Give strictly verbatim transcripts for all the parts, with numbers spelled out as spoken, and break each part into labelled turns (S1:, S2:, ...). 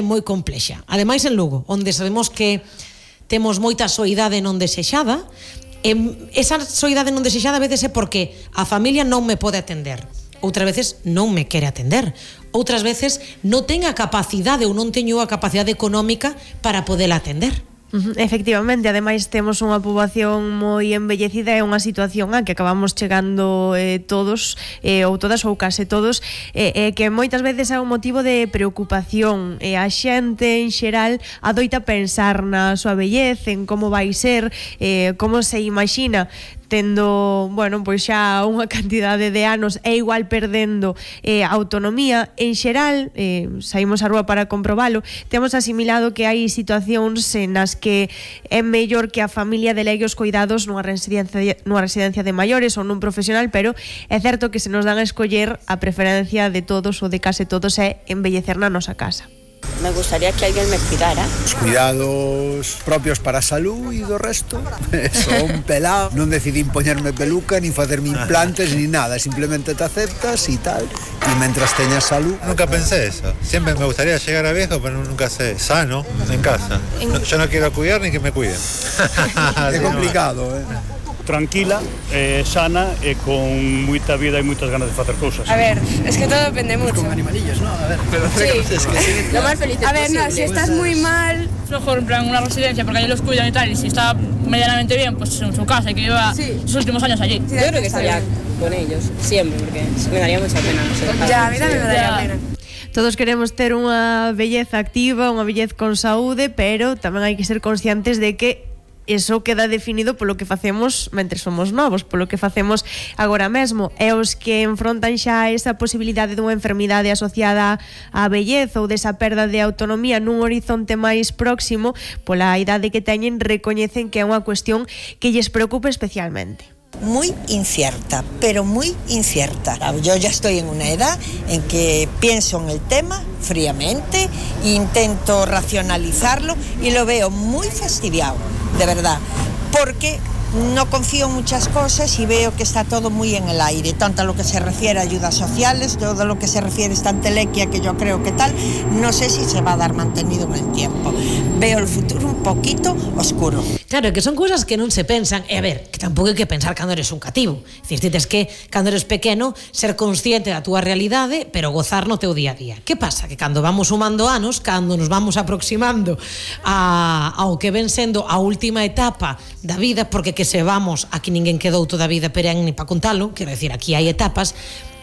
S1: moi complexa. Ademais en Lugo, onde sabemos que temos moita soidade non desexada, e esa soidade non desexada a veces é porque a familia non me pode atender, outras veces non me quere atender, outras veces non ten a capacidade ou non teño a capacidade económica para poder atender.
S2: Uh-huh. Efectivamente, ademais temos unha poboación moi envellecida e unha situación a que acabamos chegando eh, todos eh, ou todas ou case todos e eh, eh, que moitas veces é un motivo de preocupación e a xente en xeral adoita pensar na súa vellez, en como vai ser, eh, como se imagina tendo, bueno, pois xa unha cantidade de anos e igual perdendo eh, autonomía. En xeral, eh, saímos á rúa para comprobalo, temos asimilado que hai situacións nas que é mellor que a familia delegue os cuidados nunha residencia, nunha residencia de maiores ou nun profesional, pero é certo que se nos dan a escoller, a preferencia de todos ou de case todos é embellecer na nosa casa.
S3: Me gustaría que alguien me cuidara.
S4: Os cuidados propios para a salud e do resto son pelado. Non decidín poñerme peluca, ni facerme implantes, ni nada. Simplemente te aceptas y tal. Y mientras teñas salud...
S5: Nunca pensé eso. Siempre me gustaría llegar a viejo, pero nunca sé. Sano, en casa. No, yo no quiero cuidar ni que me cuiden.
S4: É complicado, eh?
S6: Tranquila, eh, sana e con moita vida e moitas ganas de facer cousas.
S7: A ver, es que todo depende mucho.
S4: Con animalillos, ¿no? A ver, pero
S7: sí.
S4: es que
S7: Lo más feliz A ver, no, si estás muy mal...
S8: Mejor en plan una residencia porque allí los cuidan y tal, y si está medianamente bien, pues en su casa y que lleva sí. sus últimos años allí.
S3: Sí, yo creo que estaría con ellos, siempre, porque me daría mucha pena. No sé,
S7: ya, a mí también me daría
S8: ya.
S7: pena.
S2: Todos queremos ter unha vellez activa, unha vellez con saúde, pero tamén hai que ser conscientes de que eso queda definido polo que facemos mentre somos novos, polo que facemos agora mesmo, e os que enfrontan xa esa posibilidade dunha enfermidade asociada á vellez ou desa perda de autonomía nun horizonte máis próximo, pola idade que teñen, recoñecen que é unha cuestión que lles preocupa especialmente.
S9: Muy incierta, pero muy incierta. Yo ya estoy en una edad en que pienso en el tema fríamente, intento racionalizarlo y lo veo muy fastidiado, de verdad, porque no confío en muchas cosas y veo que está todo muy en el aire, tanto a lo que se refiere a ayudas sociales, todo lo que se refiere a esta entelequia que yo creo que tal, no sé si se va a dar mantenido en el tiempo. Veo el futuro un poquito oscuro.
S1: Claro, que son cousas que non se pensan, e a ver, que tampouco hai que pensar cando eres un cativo. É dicir, tens que, cando eres pequeno, ser consciente da túa realidade, pero gozar no teu día a día. Que pasa? Que cando vamos sumando anos, cando nos vamos aproximando a, ao que ven sendo a última etapa da vida, porque que se vamos, aquí ninguén quedou toda a vida perenne para contalo, quero decir, aquí hai etapas,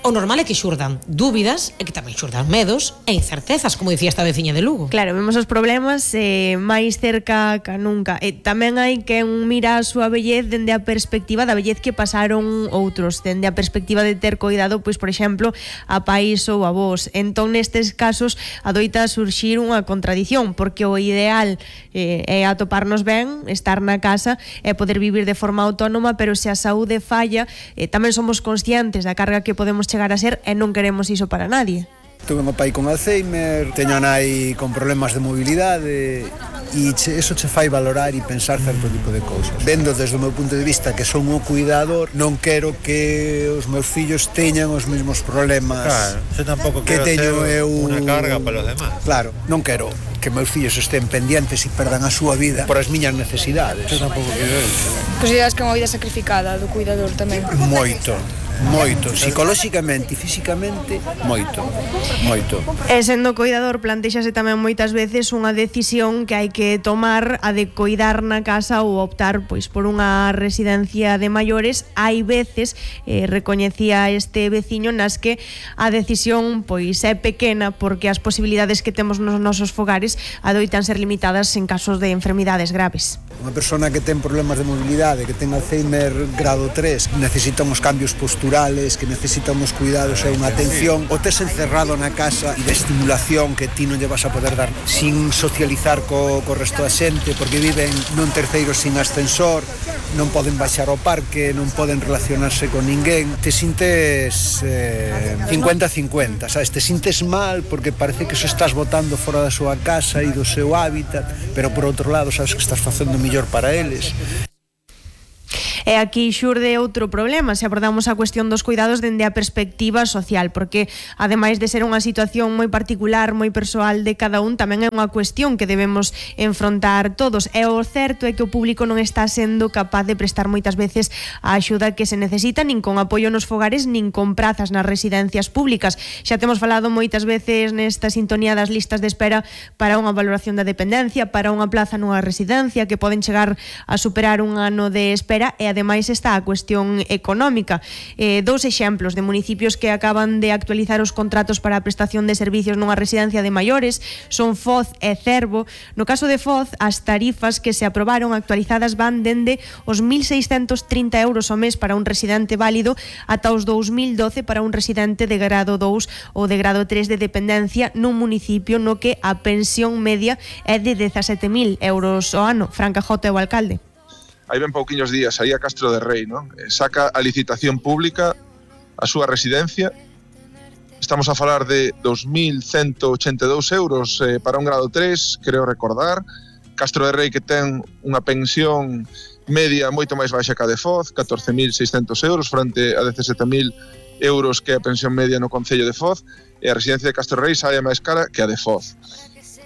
S1: o normal é que xurdan dúbidas e que tamén xurdan medos e incertezas, como dicía esta veciña de Lugo.
S2: Claro, vemos os problemas eh, máis cerca que nunca. E tamén hai que mira a súa vellez dende a perspectiva da vellez que pasaron outros, dende a perspectiva de ter coidado, pois, por exemplo, a pais ou a vós. Entón, nestes casos, adoita surxir unha contradición, porque o ideal eh, é atoparnos ben, estar na casa e poder vivir de forma autónoma, pero se a saúde falla, eh, tamén somos conscientes da carga que podemos chegar a ser e non queremos iso para nadie.
S4: Tuve un pai con Alzheimer, teño a nai con problemas de mobilidade e che, eso che fai valorar e pensar certo tipo de cousas. Vendo desde o meu punto de vista que son o cuidador, non quero que os meus fillos teñan os mesmos problemas.
S5: Claro, yo tampouco
S4: que
S5: quero
S4: teño
S5: ser
S4: eu...
S5: unha carga para los demás.
S4: Claro, non quero que meus fillos estén pendientes e perdan a súa vida por as miñas necesidades.
S5: Yo tampouco quero eso.
S7: Consideras que é unha vida sacrificada do cuidador tamén?
S4: Moito. Moito, psicolóxicamente e físicamente, moito, moito.
S2: E sendo coidador, plantexase tamén moitas veces unha decisión que hai que tomar, a de coidar na casa ou optar pois por unha residencia de maiores. Hai veces, eh, recoñecía este veciño, nas que a decisión pois é pequena porque as posibilidades que temos nos nosos fogares adoitan ser limitadas en casos de enfermidades graves.
S4: Unha persona que ten problemas de mobilidade, que ten Alzheimer grado tres, necesita uns cambios posturales, que necesita uns cuidados e unha atención, o tes encerrado na casa e de estimulación que ti non lle vas a poder dar sin socializar co, co resto da xente, porque viven nun terceiro sin ascensor, non poden baixar ao parque, non poden relacionarse con ninguén. Te sintes eh, cincuenta cincuenta, sabes? Te sintes mal porque parece que se estás botando fora da súa casa e do seu hábitat, pero por outro lado sabes que estás facendo mellor para eles.
S2: E aquí xurde outro problema se abordamos a cuestión dos cuidados dende a perspectiva social, porque ademais de ser unha situación moi particular, moi persoal de cada un, tamén é unha cuestión que debemos enfrontar todos. E o certo é que o público non está sendo capaz de prestar moitas veces a axuda que se necesita, nin con apoio nos fogares, nin con prazas nas residencias públicas. Xa temos falado moitas veces nesta sintonía das listas de espera para unha valoración da dependencia, para unha plaza nunha residencia, que poden chegar a superar un ano de espera, e ademais está a cuestión económica. Eh, dous exemplos de municipios que acaban de actualizar os contratos para a prestación de servicios nunha residencia de maiores son Foz e Cervo. No caso de Foz, as tarifas que se aprobaron actualizadas van dende os mil seiscentos trinta euros ao mes para un residente válido ata os dous mil doce para un residente de grado dous ou de grado tres de dependencia nun municipio no que a pensión media é de dezasete mil euros ao ano. Fran Cajota é o alcalde.
S10: Hai ben pouquiños días aí a Castro de Rei, non? Saca a licitación pública a súa residencia. Estamos a falar de dos mil cento ochenta e dous euros eh, para un grado tres, creo recordar. Castro de Rei que ten unha pensión media moito máis baixa que a de Foz, catorce mil seiscentos euros frente a dezasete mil euros que é a pensión media no concello de Foz, e a residencia de Castro de Rei sae máis cara que a de Foz.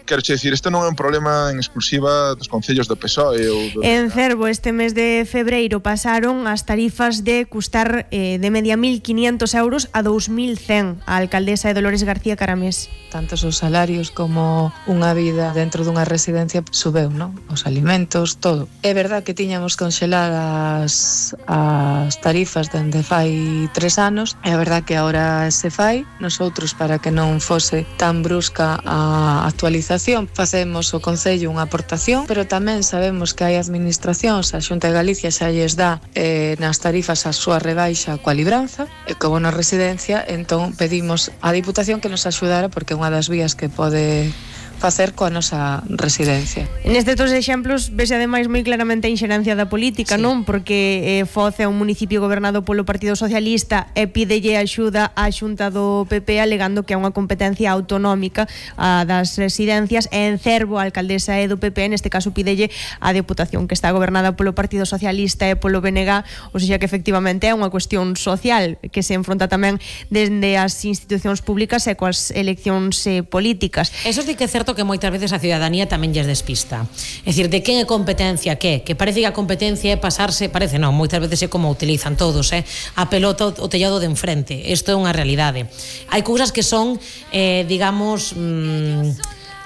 S10: Quero che dicir, isto non é un problema en exclusiva dos concellos do P S O E ou do...
S2: En Cervo este mes de febreiro pasaron as tarifas de custar eh, de media mil quinientos euros a dous mil cen. A alcaldesa é Dolores García Caramés.
S11: Tanto os salarios como unha vida dentro dunha residencia subeu, non? Os alimentos, todo. É verdad que tiñamos congeladas as tarifas dende fai tres anos, é verdad que agora se fai. Nosotros, para que non fose tan brusca a actualización, facemos o Concello unha aportación, pero tamén sabemos que hai administracións, a Xunta de Galicia xa lles dá eh, nas tarifas a súa rebaixa coa libranza, e como na residencia, entón pedimos á Diputación que nos axudara, porque é unha das vías que pode facer coa nosa residencia.
S2: Nestes dos exemplos vese ademais moi claramente a inxerencia da política, sí. Non? Porque eh, Foz é un municipio gobernado polo Partido Socialista e pídelle axuda á Xunta do P P alegando que é unha competencia autonómica a das residencias, e en Cervo a alcaldesa é do P P, neste caso pídelle á Deputación que está gobernada polo Partido Socialista e polo B N G, ou seja que efectivamente é unha cuestión social que se enfronta tamén desde as institucións públicas e coas eleccións eh, políticas.
S1: Eso sí que é certo que moitas veces a ciudadanía tamén lles despista. É dicir, de quen é competencia que? Que parece que a competencia é pasarse, parece non, moitas veces é como utilizan todos, eh? A pelota o tellado de enfrente. Isto é unha realidade. Hai cousas que son, eh, digamos, mmm,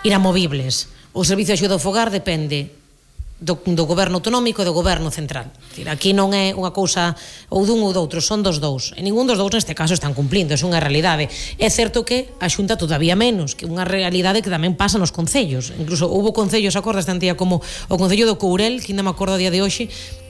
S1: inamovibles. O servicio de axuda ao fogar depende do, do goberno autonómico e do goberno central. Decir, aquí non é unha cousa ou dun ou doutro, son dos dous. E ningún dos dous neste caso están cumplindo, é unha realidade. É certo que a Xunta todavía menos, que unha realidade que tamén pasa nos concellos. Incluso houve concellos, acordas, tantía como o Concello do Courel, que ainda me acordo a día de hoxe,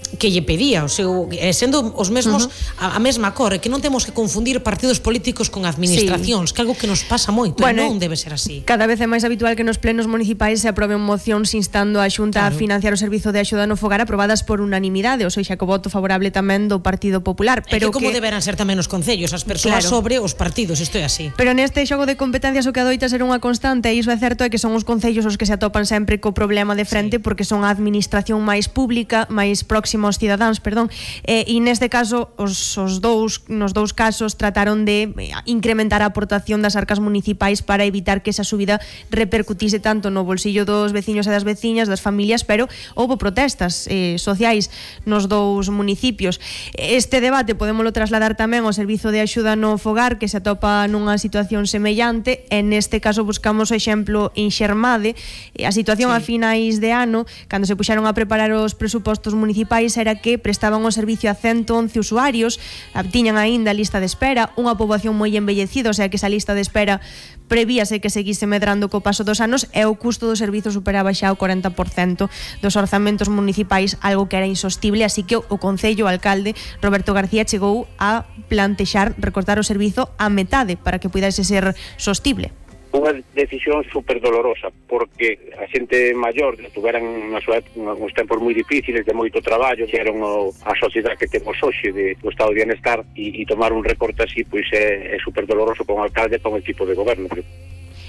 S1: que lle pedía, o seu, sendo os mesmos uh-huh. a, a mesma cor, que non temos que confundir partidos políticos con administracións, sí. Que algo que nos pasa moito, bueno, non debe ser así.
S2: Cada vez é máis habitual que nos plenos municipais se aproben mocións instando a Xunta claro. a financiar o servizo de axuda no fogar aprobadas por unanimidade, ou seja, co voto favorable tamén do Partido Popular. Pero
S1: é que como
S2: que...
S1: deberán ser tamén os concellos, as persoas claro. sobre os partidos, isto é así.
S2: Pero neste xogo de competencias o que adoita ser unha constante, e iso é certo, é que son os concellos os que se atopan sempre co problema de frente, sí. porque son a administración máis pública, máis próxima aos cidadáns, perdón, e, e neste caso os, os dous, nos dous casos trataron de incrementar a aportación das arcas municipais para evitar que esa subida repercutise tanto no bolsillo dos veciños e das veciñas, das familias, pero houbo protestas eh, sociais nos dous municipios. Este debate podémolo trasladar tamén ao servizo de axuda no fogar, que se atopa nunha situación semellante, e neste caso buscamos o exemplo en Xermade. A situación sí. a finais de ano, cando se puxaron a preparar os presupostos municipais, era que prestaban o servicio a ciento once usuarios, tiñan aínda lista de espera, unha poboación moi envellecida, o sea que esa lista de espera prevíase que seguise medrando co paso dos anos, e o custo do servizo superaba xa o cuarenta por cento dos orzamentos municipais, algo que era insostible, así que o Concello, o alcalde Roberto García, chegou a plantexar recortar o servizo a metade para que pudese ser sostible.
S12: Unha decisión super dolorosa, porque a xente maior tuveran na súa uns tempos moi difíciles de moito traballo, que eran o, a sociedade que temos hoxe de, do estado de bienestar, e, e tomar un recorte así pois é, é super doloroso con o alcalde e con o tipo de goberno.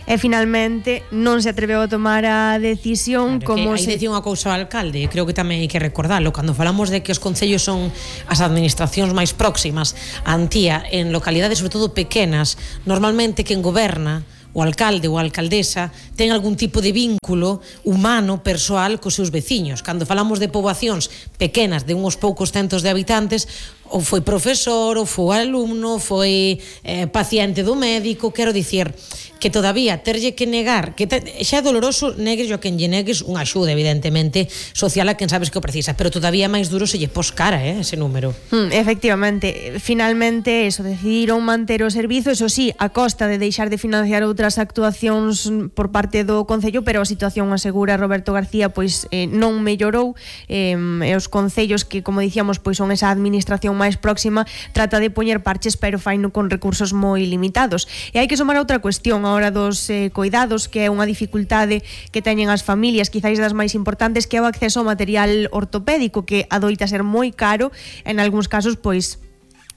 S2: e finalmente non se atreveu a tomar a decisión
S1: claro,
S2: como
S1: que
S2: se...
S1: Aí dicía unha cousa ao alcalde, creo que tamén hai que recordalo, cando falamos de que os concellos son as administracións máis próximas a Antía en localidades sobre todo pequenas, normalmente quen goberna, o alcalde ou a alcaldesa, ten algún tipo de vínculo humano, persoal cos seus veciños. Cando falamos de poboacións pequenas de uns poucos centos de habitantes, ou foi profesor, ou foi alumno, foi eh, paciente do médico, quero dicir que todavía terlle que negar, que te, xa é doloroso negues a quen lle negues unha axuda, evidentemente, social a quen sabes que o precisa, pero todavía máis duro se lle pos cara, eh, ese número.
S2: Hmm, efectivamente, finalmente eso, decidiron manter o servizo, eso sí, a costa de deixar de financiar outras actuacións por parte do Concello, pero a situación, asegura Roberto García, pois eh, non mellorou, eh, e os concellos que, como dicíamos, pois son esa administración máis próxima, trata de poñer parches, pero faino con recursos moi limitados. E hai que somar outra cuestión a hora dos eh, cuidados, que é unha dificultade que teñen as familias, quizáis das máis importantes, que é o acceso ao material ortopédico, que adoita ser moi caro, en algúns casos, pois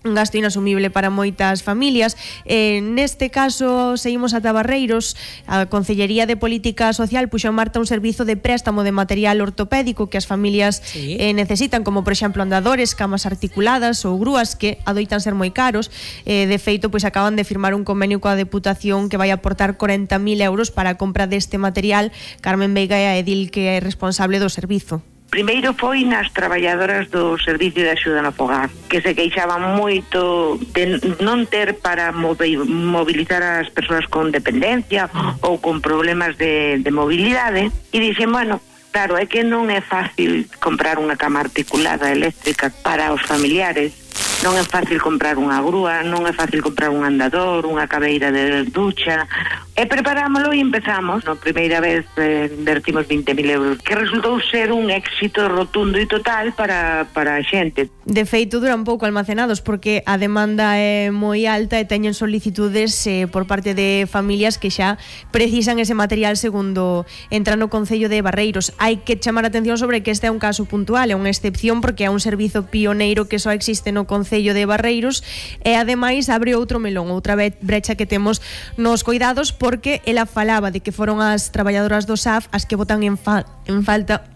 S2: un gasto inasumible para moitas familias. Eh, neste caso, seguimos ata Barreiros. A Concellería de Política Social puxo en marcha un servizo de préstamo de material ortopédico que as familias sí. eh, necesitan, como por exemplo andadores, camas articuladas ou grúas, que adoitan ser moi caros. Eh, de feito, pois acaban de firmar un convenio coa Deputación que vai aportar corenta mil euros para a compra deste material. Carmen Veiga é a edil que é responsable do servizo.
S13: Primeiro foi nas traballadoras do Servicio de Axuda no Fogar, que se queixaban moito de non ter para mobilizar as persoas con dependencia ou con problemas de, de mobilidade, e dixen, bueno, claro, é que non é fácil comprar unha cama articulada eléctrica para os familiares, non é fácil comprar unha grúa, non é fácil comprar un andador, unha cabeira de ducha, e preparámoslo e empezamos. Na primeira vez eh, invertimos vinte mil euros, que resultou ser un éxito rotundo e total para, para a xente.
S2: De feito, duran pouco almacenados porque a demanda é moi alta e teñen solicitudes eh, por parte de familias que xa precisan ese material segundo entra no Concello de Barreiros. Hai que chamar a atención sobre que este é un caso puntual, é unha excepción porque é un servizo pioneiro que só existe no Concello de Barreiros e ademais abre outro melón, outra brecha que temos nos cuidados, porque ela falaba de que foron as traballadoras do S A F as que botan en, fa en falta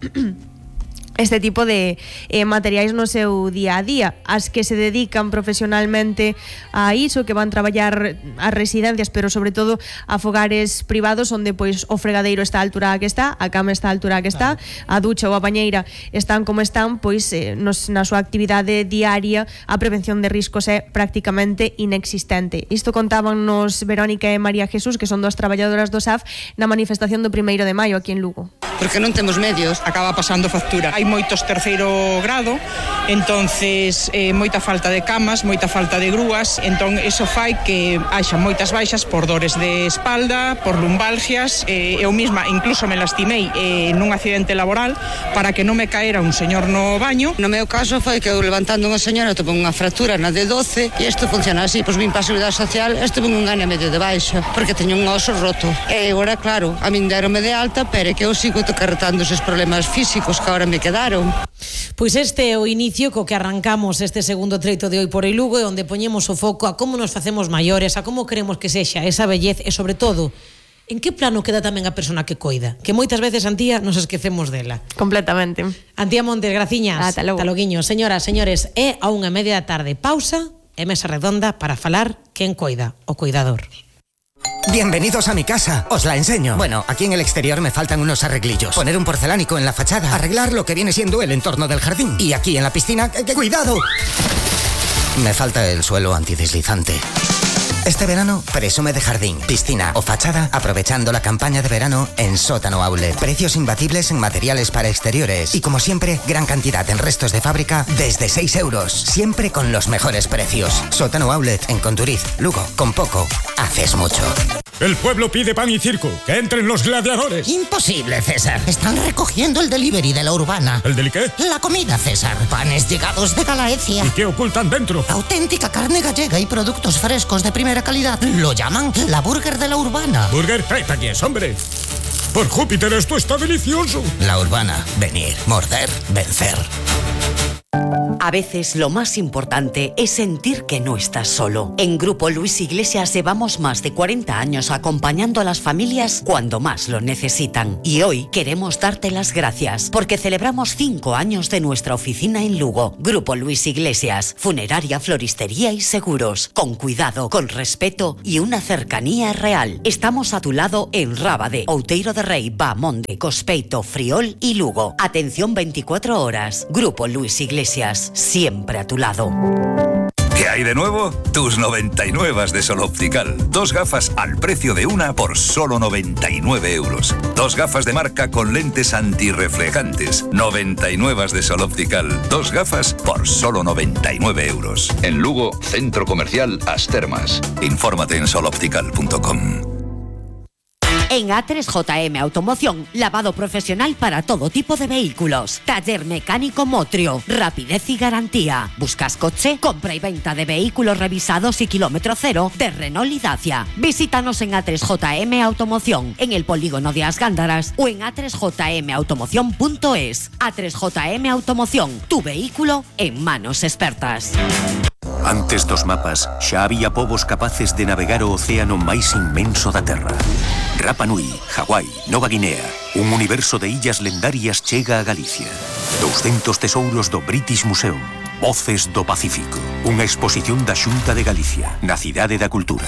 S2: este tipo de eh, materiais no seu día a día, as que se dedican profesionalmente a iso, que van traballar a residencias, pero sobre todo a fogares privados onde pois o fregadeiro está a altura que está, a cama está a altura que está, a ducha ou a bañeira están como están, pois eh, nos, na súa actividade diaria a prevención de riscos é prácticamente inexistente. Isto contaban nos Verónica e María Jesús, que son dos traballadoras do S A F, na manifestación do primeiro de maio aquí en Lugo.
S14: Porque non temos medios, acaba pasando factura. Hai moitos terceiro grado, entonces eh, moita falta de camas, moita falta de grúas, entón eso fai que haxa moitas baixas por dores de espalda, por lumbalgias, eh, eu mesma incluso me lastimei eh, nun accidente laboral para que non me caera un señor no baño.
S15: No meu caso foi que eu levantando unha señora tuve unha fractura na D doce e isto funciona así, pois vim para a Seguridade Social, estuve un ano e medio de baixa porque teño un oso roto. E agora, claro, a min derome de alta, pero é que eu sigo carretando esos problemas físicos que agora me quedaron.
S1: Pois este é o inicio co que arrancamos este segundo treito de Hoy por Hoy Lugo, onde poñemos o foco a como nos facemos maiores, a como queremos que sexa esa vellez e, sobre todo, en que plano queda tamén a persona que coida, que moitas veces, Antía, nos esquecemos dela.
S2: Completamente.
S1: Antía Montes, graciñas.
S2: Ata logo.
S1: Ata loguiño. Señoras, señores, é a unha media da tarde. Pausa e mesa redonda para falar quen coida, o cuidador.
S16: Bienvenidos a mi casa, os la enseño. Bueno, aquí en el exterior me faltan unos arreglillos. Poner un porcelánico en la fachada, arreglar lo que viene siendo el entorno del jardín. Y aquí en la piscina, ¡que, que cuidado! Me falta el suelo antideslizante. Este verano, presume de jardín, piscina o fachada, aprovechando la campaña de verano en Sótano Outlet. Precios imbatibles en materiales para exteriores. Y como siempre, gran cantidad en restos de fábrica desde seis euros. Siempre con los mejores precios. Sótano Outlet en Conturiz, Lugo. Con poco, haces mucho.
S17: El pueblo pide pan y circo. ¡Que entren los gladiadores!
S18: Imposible, César. Están recogiendo el delivery de la Urbana.
S17: ¿El deli qué?
S18: La comida, César. Panes llegados de Galaecia.
S17: ¿Y qué ocultan dentro?
S18: Auténtica carne gallega y productos frescos de primera calidad. Lo llaman la burger de la Urbana.
S17: ¿Burger? ¡Trae aquí es, hombre! Por Júpiter, esto está delicioso.
S16: La Urbana. Venir, morder, vencer.
S19: A veces lo más importante es sentir que no estás solo. En Grupo Luis Iglesias llevamos más de cuarenta años acompañando a las familias cuando más lo necesitan. Y hoy queremos darte las gracias porque celebramos cinco años de nuestra oficina en Lugo. Grupo Luis Iglesias, funeraria, floristería y seguros. Con cuidado, con respeto y una cercanía real. Estamos a tu lado en Rábade, Outeiro de Rei, Bamonde, Cospeito, Friol y Lugo. Atención veinticuatro horas. Grupo Luis Iglesias, siempre a tu lado.
S20: ¿Qué hay de nuevo? Tus noventa y nueve de Sol Optical. Dos gafas al precio de una por solo noventa y nueve euros. Dos gafas de marca con lentes antirreflejantes. noventa y nueve de Sol Optical. Dos gafas por solo noventa y nueve euros. En Lugo, Centro Comercial As Termas. Infórmate en sol optical punto com.
S19: En A tres J M Automoción, lavado profesional para todo tipo de vehículos. Taller mecánico Motrio, rapidez y garantía. ¿Buscas coche? Compra y venta de vehículos revisados y kilómetro cero de Renault y Dacia. Visítanos en A tres J M Automoción, en el polígono de As Gándaras o en a tres j m automoción punto es. A tres J M Automoción, tu vehículo en manos expertas.
S21: Antes dos mapas, xa había povos capaces de navegar o océano máis inmenso da Terra. Rapa Nui, Hawái, Nova Guinea, un universo de illas lendarias chega a Galicia. doscientos tesouros do British Museum. Voces do Pacífico. Unha exposición da Xunta de Galicia, na Cidade da Cultura.